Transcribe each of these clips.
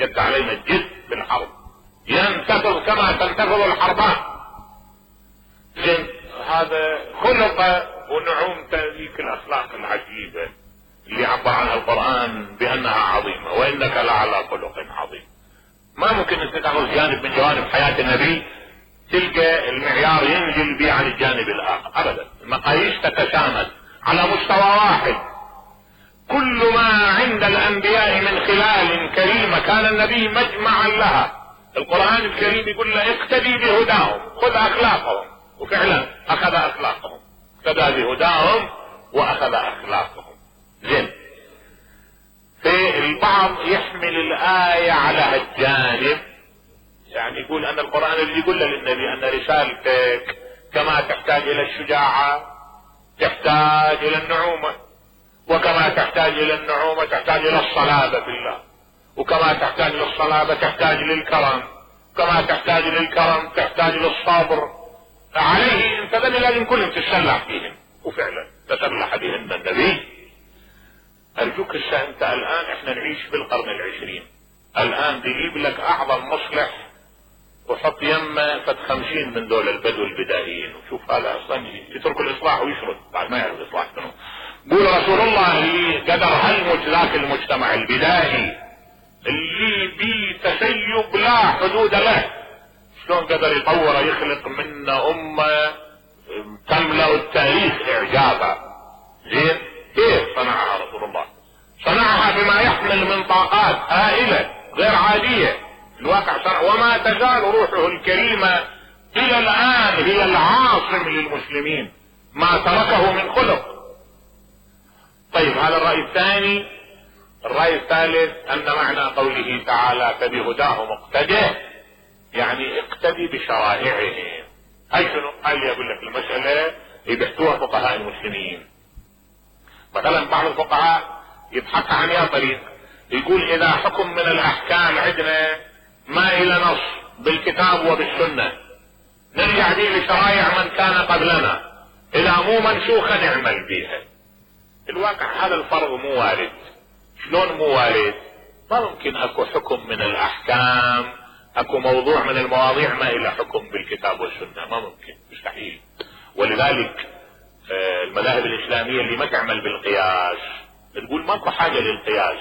اشتد علينا الجد بالحرب، ينتفض كما تنتفض الحربان. زين، هذا خلق ونعومته ذيك الاخلاق العجيبة اللي عبر عنها القرآن بانها عظيمة، وانك لعلى خلق عظيم. ما ممكن انت تاخذ جانب من جوانب حياة النبي تلقى المعيار ينزل به عن الجانب الاخر ابدا. المقاييس تتسامد على مستوى واحد. كل ما عند الانبياء من خلال كريمة كان النبي مجمعا لها. القرآن الكريم يقول له اقتدي بهداهم، خذ اخلاقهم، وفعلا اخذ اخلاقهم، اقتدى بهداهم واخذ اخلاقهم. زين، في البعض يحمل الآية على هالجانب، يعني يقول ان القرآن اللي يقول للنبي ان رسالتك كما تحتاج الى الشجاعة تحتاج الى النعومة، وكما تحتاج الى النعومة تحتاج الى الصلابة في الله، وكما تحتاج للصلابة تحتاج للكرم، كما تحتاج للكرم تحتاج للصبر. عليه انت لازم كلهم تتسلح فيهم، وفعلا تسلح بهم النبي. ارجوك انت الان احنا نعيش بالقرن العشرين، الان بيجيب لك اعظم مصلح وحط يمه فد 50 من دول البدو البدائيين، وشوف هذا اصلا يترك الاصلاح ويشرد بعد ما يعرف الاصلاح منه. قول رسول الله اللي قدر ذاك المجتمع البدائي اللي بتسيب لا حدود له، شلون قدر يطور يخلق منا امه تملأ التاريخ اعجابا. زين، كيف صنعها رسول الله؟ صنعها بما يحمل من طاقات هائلة غير عادية. الواقع صنع، وما تزال روحه الكريمة الى الان هي العاصم للمسلمين، ما تركه من خلق. طيب، هذا الرأي الثاني. الرأي الثالث ان معنى قوله تعالى فبهداه مقتده، يعني اقتدي بشرائعهم. هاي شنو؟ هاي اللي اقول لك المسألة يبحثوها فقهاء المسلمين. مثلا بعض الفقهاء يبحث عن يا طريق، يقول اذا حكم من الاحكام عندنا ما الى نص بالكتاب وبالسنة نرجع به لشرائع من كان قبلنا، اذا مو منسوخة نعمل بها. الواقع هذا الفرض مو وارد. شلون مو وارد؟ ما ممكن اكو حكم من الاحكام، اكو موضوع من المواضيع ما الى حكم بالكتاب والسنة، ما ممكن، مستحيل. ولذلك المذاهب الاسلامية اللي ما تعمل بالقياس تقول ماكو حاجة للقياس،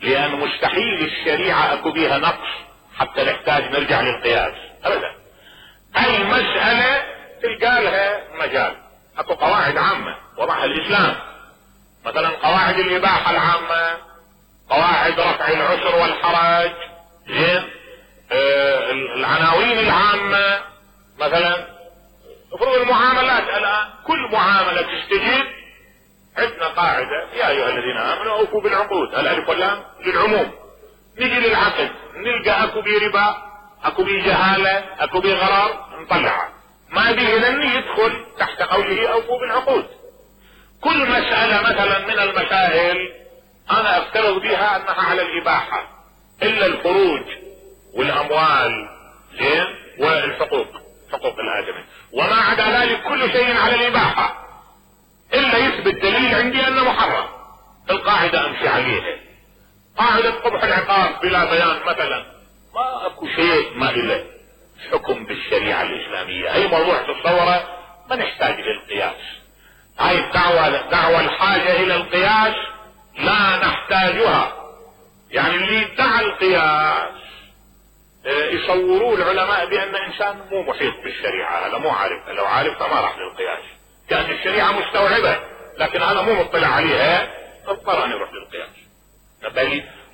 لان مستحيل الشريعة اكو بيها نقص حتى نحتاج نرجع للقياس ابدا. اي مسألة تلقى لها مجال، اكو قواعد عامة وضعها الاسلام، مثلا قواعد الاباحة العامة، قواعد رفع العسر والحرج، زين، العناوين العامة. مثلا افرض المعاملات الان كل معاملة تستجيب عندنا قاعدة يا ايها الذين امنوا اوفوا بالعقود، الالف واللام للعموم. نجي للعقد نلقى اكو بي ربا، اكو بي جهالة، اكو بي غرار، نطلعها. ما به لن يدخل تحت قوله اوفوا بالعقود. كل مسألة مثلا من المسائل انا افترض بها انها على الاباحة، الا الفروج والاموال، زين، والحقوق، حقوق الادمي، وما عدا ذلك كل شيء على الاباحة الا يثبت دليل عندي انه محرم. القاعدة امشي عليها. قاعدة قبح العقاب بلا بيان مثلا، ما اكو شيء ما له حكم بالشريعة الاسلامية. اي موضوع تتصوره ما نحتاج للقياس. هاي دعوة الحاجة الى القياس لا نحتاجها. يعني اللي ادعى القياس يصوروا العلماء بان انسان مو محيط بالشريعة، هذا مو عارفها، لو عارفها ما راح للقياس، كان الشريعة مستوعبة لكن هذا مو مطلع عليها، اضطر ان يروح للقياس.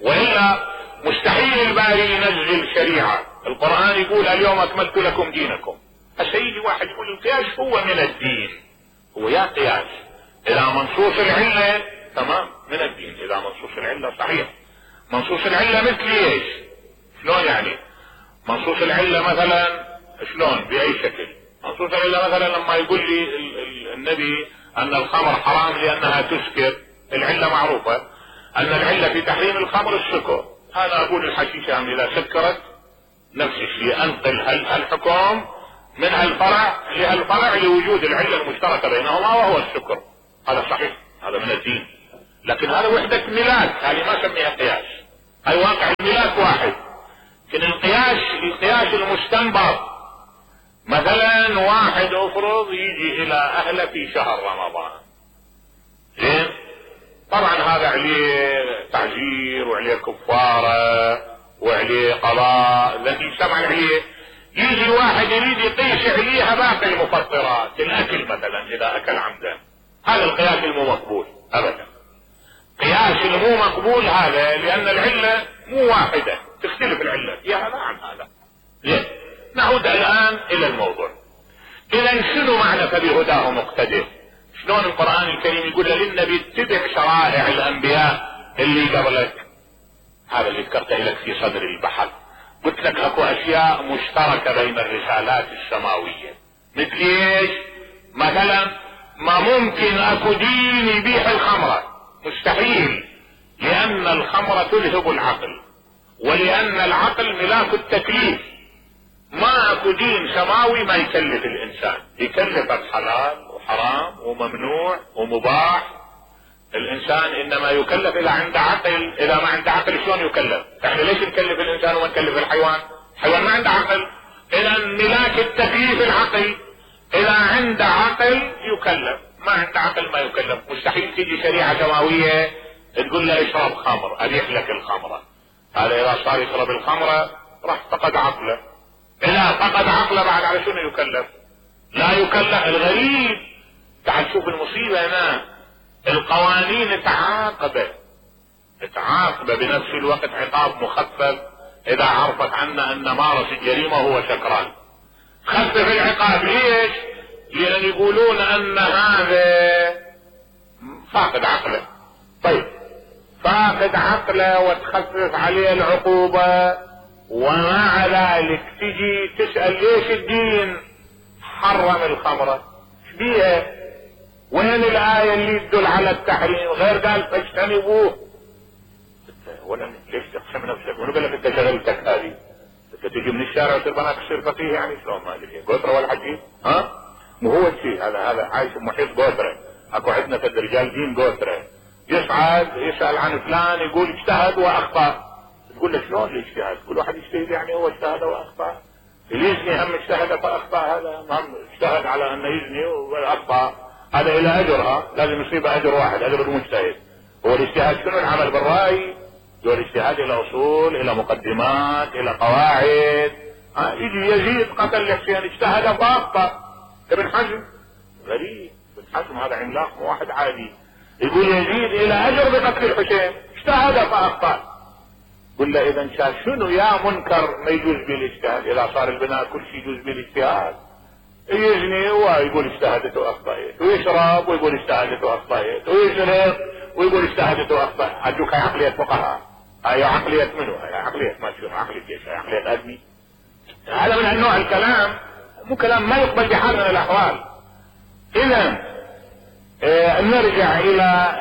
والا مستحيل الباري ينزل شريعة. القرآن يقول اليوم اكملت لكم دينكم. السيد واحد يقول القياس هو من الدين، هو يا قياس اذا منصوص العلة تمام من الدين، اذا منصوص العلة صحيح. منصوص العلة مثل ايش؟ شلون يعني؟ منصوص العلة مثلا شلون باي شكل؟ منصوص العلة مثلا لما يقول لي النبي ان الخمر حرام لانها تسكر، العلة معروفة ان العلة في تحريم الخمر السكر. هذا اقول الحشيشة اذا سكرت نفس الشيء، انقل الحكم من هالفرع لهالفرع لوجود العلة المشتركة بينهما وهو السكر. هذا صحيح، هذا من الدين. لكن هذا وحدة ميلاد، هذه ما سميها قياس. هاي واقع الميلاد واحد، لكن القياس المستنبط مثلا واحد افرض يجي الى اهله في شهر رمضان، زين، طبعا هذا عليه تعزير وعليه كفارة وعليه قضاء الذي سمع عليه. يجي واحد يريد يقيس عليها باقي المفطرات، الاكل مثلا اذا اكل عمدا، هذا القياس المو مقبول ابدا. قياس المو مقبول هذا لان العلة مو واحدة، تختلف العلة يا هذا عن هذا. زين، نعود الان الى الموضوع. اذا شنو معنى فبهداه مقتدر؟ شلون القرآن الكريم يقول للنبي اتبع شرائع الانبياء اللي قبلك؟ هذا اللي ذكرته لك في صدر البحث. قلت لك اكو اشياء مشتركة بين الرسالات السماوية. مثل ايش؟ مثلا ما ممكن اكو دين يبيح الخمرة، مستحيل، لان الخمرة تلهب العقل، ولان العقل ملاك التكليف. ما اكو دين سماوي ما يكلف الانسان، يكلفك حلال وحرام وممنوع ومباح. الانسان انما يكلف اذا عنده عقل، اذا ما عنده عقل شلون يكلف؟ احنا ليش نكلف الانسان وما نكلف الحيوان؟ الحيوان ما عنده عقل، اذا ملاك التكليف العقل. اذا عنده عقل يكلف، ما عنده عقل ما يكلف. مستحيل تيجي شريعة سماوية تقول له اشرب خمر، ابيح لك الخمرة. هذا اذا صار يشرب الخمرة راح فقد عقله. اذا فقد عقله بعد على شنو يكلف؟ لا يكلف. الغريب تعال شوف المصيبة هنا، القوانين تعاقبه بنفس الوقت عقاب مخفف اذا عرفت عنا ان مارس الجريمة هو سكران. خفف العقاب ليش؟ لان يقولون ان هذا فاقد عقله. طيب فاقد عقله وتخفف عليه العقوبة، ومع ذلك تجي تسأل ليش الدين حرم الخمرة؟ ايش بيها؟ وين الآية اللي تدل على التحريم؟ غير قال فاجتنبوه. ولا ليش تقسم نفسك؟ وانا قال لك انت شغلتك هذه، انت تجي من الشارع وتصير بناك تصير فقيه يعني شلون؟ ما ادري قطره ولا حجي، ها؟ مو هو الشيء هذا عايش محيط قطره. اكو عندنا في الرجال دين قطره، يصعد يسأل عن فلان يقول اجتهد واخطأ. تقول له شلون الاجتهاد؟ كل واحد يجتهد يعني هو اجتهد واخطأ. اللي يزني هم اجتهد فاخطأ، هذا هم اجتهد على انه يزني واخطأ، هذا الى اجرها لازم يصيبه اجر واحد، اجر المجتهد. هو الاجتهاد شنو؟ العمل بالرأي. هو الاجتهاد الى اصول، الى مقدمات، الى قواعد. يجي يزيد قتل الحسين اجتهد فاخطأ. ابن حزم غريب، ابن حزم هذا عملاق مو واحد عادي، يقول يزيد الى اجر بقتل الحسين اجتهد فاخطأ. قل له اذا شاف شنو يا منكر ما يجوز به الاجتهاد؟ اذا صار البناء كل شيء يجوز به الاجتهاد. يزني ويقول اجتهدت واخطأت، ويشرب ويقول اجتهدت واخطأت، ويسرق ويقول اجتهدت واخطأت. ارجوك هاي عقلية فقهاء، هاي عقلية منو؟ هاي عقلية ما شنو؟ عقلية ايش؟ هاي عقلية ادمي. هذا من النوع الكلام مو كلام ما يقبل بحال من الاحوال. اذا نرجع الى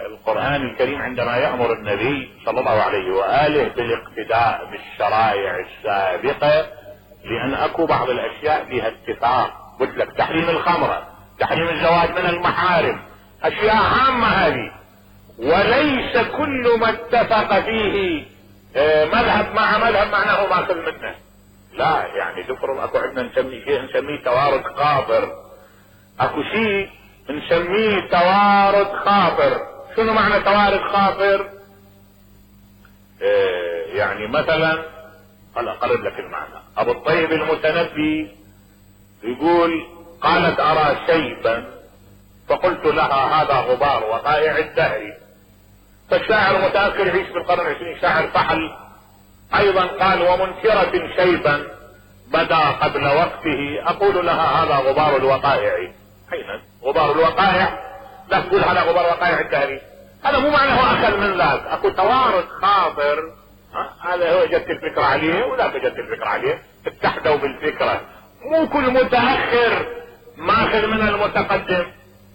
القرآن الكريم عندما يأمر النبي صلى الله عليه وآله بالاقتداء بالشرائع السابقة، لان اكو بعض الاشياء فيها اتفاق. قلت لك تحريم الخمرة، تحريم الزواج من المحارم، اشياء عامة هذه، وليس كل ما اتفق فيه مذهب مع مذهب معناه ماخذ منه. لا يعني تفرض اكو عندنا نسميه شيء نسميه توارد خاطر، اكو شيء نسميه توارد خاطر. شنو معنى توارد خاطر؟ يعني مثلا هلا اقرب لك المعنى. ابو الطيب المتنبي يقول قالت ارى شيبا فقلت لها هذا غبار وقائع الدهر. فالشاعر متأخر يعيش بالقرن العشرين، شاعر فحل ايضا قال ومنكرة شيبا بدا قبل وقته اقول لها هذا غبار الوقائع. حين غبار الوقائع لا تقول هذا غبار وقائع الدهر، هذا مو معنى هو اخذ من ذاك. اكو توارد خاطر، هذا هو جت الفكرة عليه وذاك جت الفكرة عليه، اتحدوا بالفكرة. مو كل متأخر ماخذ من المتقدم.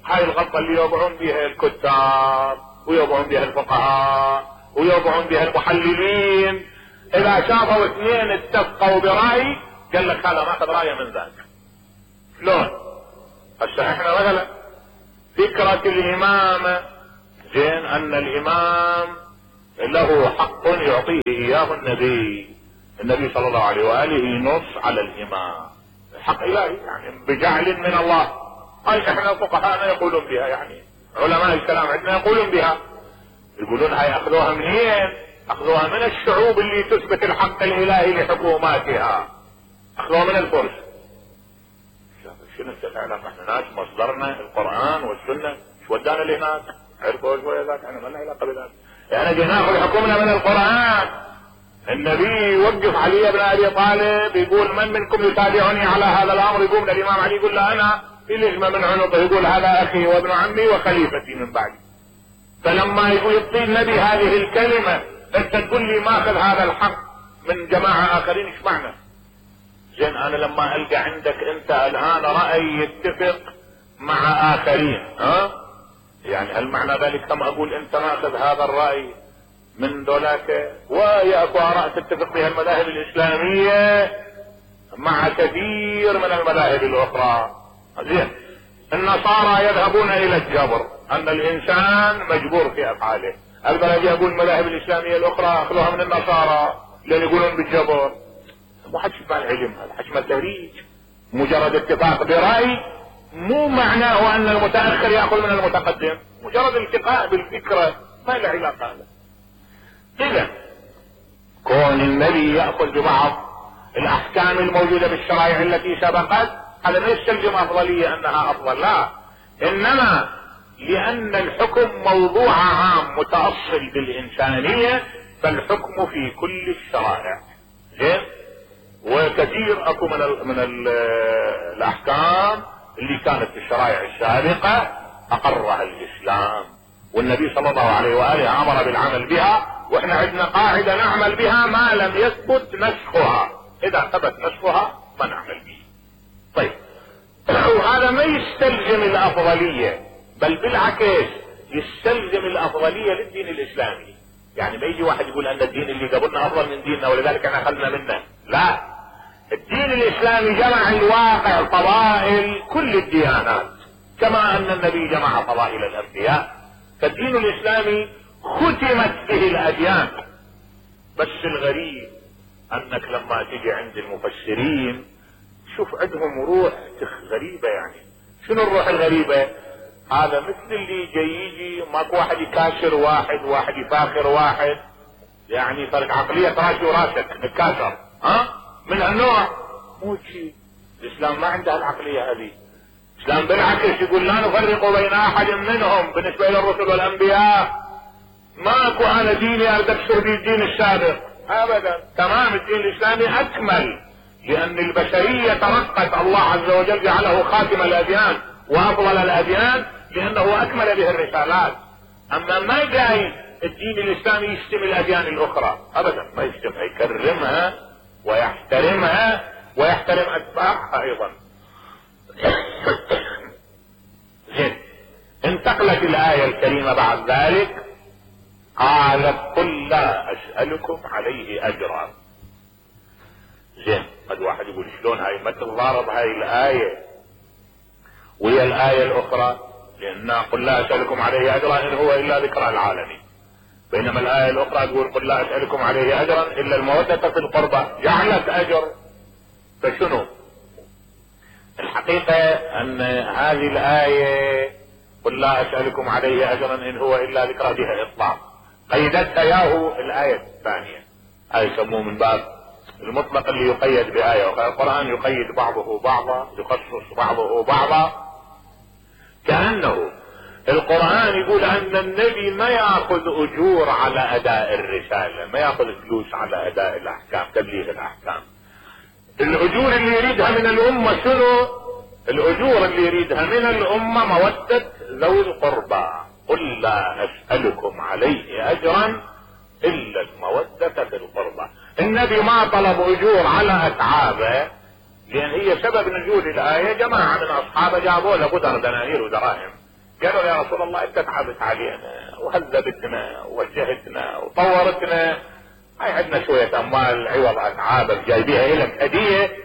هاي الغلطة اللي يوقعون بها الكتاب ويوقعون بها الفقهاء ويوقعون بها المحللين. اذا شافوا اثنين اتفقوا برأي قال لك هذا ماخذ رأيه من ذاك. شلون؟ هسه احنا مثلا فكرة الامامة، زين، ان الامام له حق يعطيه اياه النبي، النبي صلى الله عليه وآله ينص على الإمام حق إلهي يعني بجعل من الله. هاي احنا فقهاءنا يقولون بها، يعني علماء الكلام عندنا يقولون بها، يقولون هاي اخذوها منين؟ اخذوها من الشعوب اللي تثبت الحق الالهي لحكوماتها، اخذوها من الفرس. شنو الاعلام؟ احنا ناس مصدرنا القرآن والسنة، شو ودانا لهناك؟ عرفوا شوية ذاك، احنا ما لنا علاقة بذلك، احنا جينا ناخذ حكمنا من القرآن. النبي يوقف علي بن ابي طالب يقول من منكم يتابعني على هذا الامر؟ يقوم للامام علي يقول له انا، يلجمه من عنقه يقول هذا اخي وابن عمي وخليفتي من بعدي. فلما يقول يعطي النبي هذه الكلمة انت تقول لي ماخذ هذا الحق من جماعة اخرين، ايش معنى؟ زين انا لما القى عندك انت الان رأي يتفق مع اخرين، يعني هل معنى ذلك كما اقول انت ماخذ هذا الرأي من ذولاك؟ وهي اكو اراء تتفق بها المذاهب الاسلامية مع كثير من المذاهب الاخرى. زين النصارى يذهبون الى الجبر، ان الانسان مجبور في افعاله. اقدر اجي اقول المذاهب الاسلامية الاخرى اخذوها من النصارى لان يقولون بالجبر؟ مو حكي مع العلم، هذا حكي مع التهريج. مجرد اتفاق برأي مو معناه ان المتأخر يأخذ من المتقدم، مجرد التقاء بالفكرة ما له علاقة هذا. اذا كون النبي يأخذ ببعض الاحكام الموجودة بالشرائع التي سبقت هذا ما يستلزم افضلية انها افضل، لا، انما لان الحكم موضوع عام متأصل بالانسانية فالحكم في كل الشرائع. زين وكثير اكو من الاحكام اللي كانت في الشرائع السابقة اقرها الاسلام، والنبي صلى الله عليه وآله امر بالعمل بها، واحنا عندنا قاعدة نعمل بها ما لم يثبت نسخها، اذا ثبت نسخها ما نعمل به. طيب وهذا ما يستلزم الافضلية، بل بالعكس يستلزم الافضلية للدين الاسلامي. يعني ما يجي واحد يقول ان الدين اللي قبلنا افضل من ديننا ولذلك احنا اخذنا منه، لا، الدين الاسلامي جمع الواقع فضائل كل الديانات كما ان النبي جمع فضائل الانبياء، فالدين الاسلامي ختمت به الاديان. بس الغريب انك لما تجي عند المفسرين شوف عندهم روح غريبة. يعني شنو الروح الغريبة؟ هذا مثل اللي يجي ماكو واحد يكاشر واحد يفاخر واحد، يعني فرق عقلية راسي وراسك نتكاشر، من هالنوع. مو شيء، الاسلام ما عنده العقلية هذه. الاسلام بالعكس يقول لا نفرق بين احد منهم بالنسبة الى الرسل والانبياء. ماكو انا ديني اريد اكسر به الدين السابق ابدا، تمام. الدين الاسلامي اكمل لان البشرية ترقت، الله عز وجل جعله خاتم الاديان وافضل الاديان لانه اكمل به الرسالات. اما ما جاي الدين الاسلامي يشتم الاديان الاخرى ابدا، ما يشتمها، يكرمها ويحترمها ويحترم اتباعها ايضا. زين انتقلت الاية الكريمة بعد ذلك قالت قل لا اسألكم عليه اجرا. زين قد واحد يقول شلون هاي ما تتضارب هاي الاية وهي الاية الاخرى؟ لان قل لا اسألكم عليه اجرا ان هو الا ذكرى العالمين، بينما الاية الاخرى تقول قل لا اسألكم عليه اجرا الا المودة في القربى، جعلت اجر. فشنو الحقيقة؟ ان هذه الاية قل لا اسألكم عليه اجرا ان هو الا ذكرى بها اطلاق، قيدتها ياهو الاية الثانية. هاي يسموه من باب المطلق اللي يقيد بآية، والقرآن يقيد بعضه بعضا، يخصص بعضه بعضا. كأنه القرآن يقول ان النبي ما ياخذ اجور على اداء الرسالة، ما ياخذ فلوس على اداء الاحكام، تبليغ الاحكام. الاجور اللي يريدها من الامة شنو؟ الاجور اللي يريدها من الامة مودة ذوي القربى. قل لا اسألكم عليه اجرا الا المودة في القربى. النبي ما طلب اجور على اتعابه، لان هي سبب نزول الايه جماعه من اصحابه جابوا له قدر دنانير ودراهم، قالوا يا رسول الله انت تعبت علينا وهذبتنا ووجهتنا وطورتنا، هاي عندنا شويه اموال عوض اتعابك جايبيها لك هديه.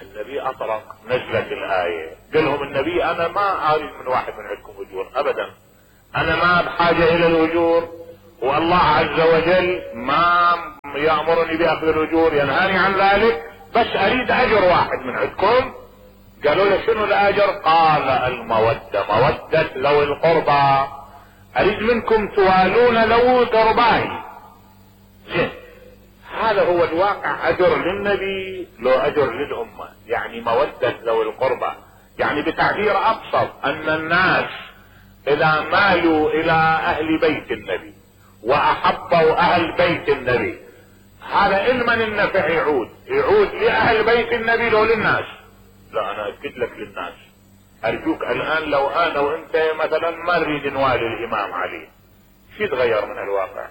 النبي اطرق، نزلت الايه، قال لهم النبي انا ما اريد من واحد من عندكم اجور ابدا، انا ما بحاجه الى الاجور، والله عز وجل ما يأمرني بأخذ الأجور، ينهاني عن ذلك، بس أريد أجر واحد من عندكم. قالوا له شنو الأجر؟ قال المودة، مودة ذوي القربى، أريد منكم توالون ذوي قرباي. زين، هذا هو الواقع، أجر للنبي لو أجر للأمة، يعني مودة ذوي القربى. يعني بتعبير أبسط أن الناس إذا مالوا إلى أهل بيت النبي وأحبوا أهل بيت النبي، هذا إلمن النفع يعود لأهل بيت النبي لو للناس. لا، أنا أكد لك للناس. أرجوك الآن لو أنا وأنت مثلا ما نريد نوالي الإمام علي، شو يتغير من الواقع؟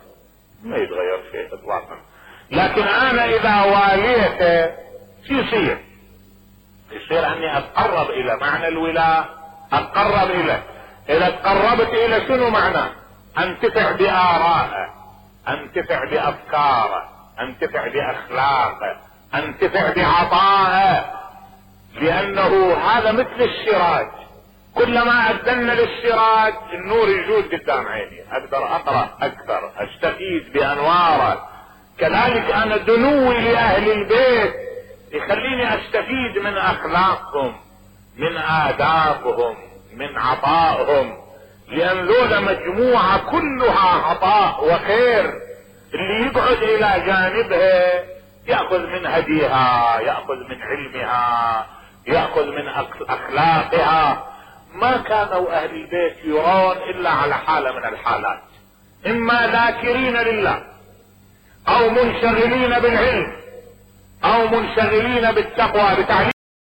ما يتغير شيء إطلاقا. لكن أنا إذا واليته شو يصير؟ يصير أني أتقرب إلى معنى الولاء، أتقرب إليه. إذا تقربت إلى شنو معناه؟ أنتفع بآرائه، أنتفع بأفكاره، أنتفع بأخلاقه، أنتفع بعطائه، لأنه هذا مثل السراج، كلما أدلنا للسراج النور يجود قدام عيني، أقدر أقرأ أكثر، أستفيد بأنواره. كذلك أنا دنوي لأهل البيت يخليني أستفيد من أخلاقهم، من آدابهم، من عطائهم، لأن ذولا مجموعة كلها عطاء وخير. اللي يقعد إلى جانبها يأخذ من هديها، يأخذ من علمها، يأخذ من أخلاقها. ما كانوا أهل البيت يرون إلا على حالة من الحالات، إما ذاكرين لله، أو منشغلين بالعلم، أو منشغلين بالتقوى بتعليم